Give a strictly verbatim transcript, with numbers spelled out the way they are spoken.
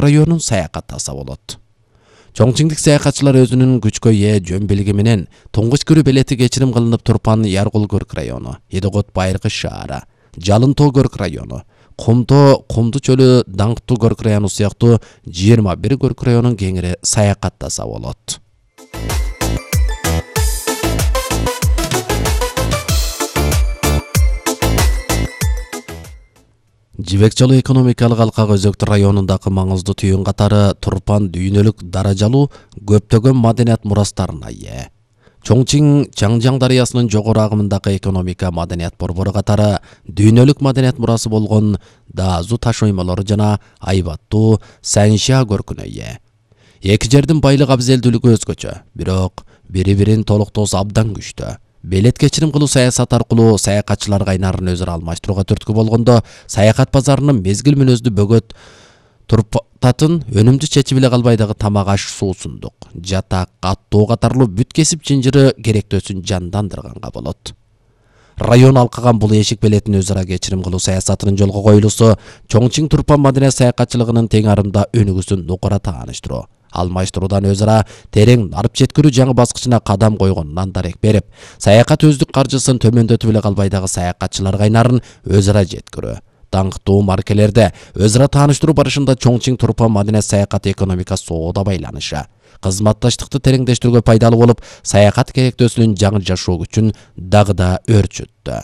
районун саякаттаса болот. Чоңчиңдик саякатчылар өзүнүн күчкө ээ жөн билиги менен туңгуч күрү белети кечирим кылынып Турпан Яргул Көрк району, Едөгөт Байыркы шаары, Жалын Тоо Көрк району, Кумтоо Кумду чөлү Даңктуу Көрк району сыяктуу жыйырма бир Көрк районун кеңири саякаттаса болот. Жибек Жолу экономикалык алкак өзөктү районундагы маңыздуу түйүн катары Турпан дүйнөлүк даражалуу көптөгөн маданият мурастарына ээ. Чоңчиң Чаңжаң дарыясынын жогору агымындагы экономика маданият борбору катары дүйнөлүк маданият мурасы болгон Даазу таш оймолору жана айбаттуу Санша көркүнө ээ. Эки жердин байлык абзелдүүлүгү өзгөчө, бирок бири-бирин толуктоосу абдан күчтүү. Белет кечирим кылуу саясат аркылуу саякатчылар кайнарын өзүрө алмаштырууга түрткү болгондо, саякат базарынын мезгил мүнөздүү бөгөт турпататын өнүмдүү чечип эле калбай дагы тамак аш, суусундук, жатак, аттоо катарлуу бүт кесип жинжири керектөөсүн жандандырганга болот. Район алкаган бул эшик белетин өзара кечирим кылуу саясатынын жолго коюлуусу Чоңчиң Турпан маданият саякатчылыгынын тең арымда өнүгүүсүн нукура тааныштыруу, алмаштыруудан өзара терең нарып жеткирүү жаңы баскычына кадам койгонунан дарек берип, саякат өздүк каржысын төмөндөтүп эле калбай дагы саякатчылар кайнарын өзара жеткирүү, даңктуу маркелерде өзара тааныштыруу барышында Чоңчиң Турпан маданият саякат экономика соода байланышы, кызматташтыкты тереңдештирүүгө пайдалуу болуп, саякат керектөөсүнүн жаңы жашоо күчүн дагы да өрчүттү.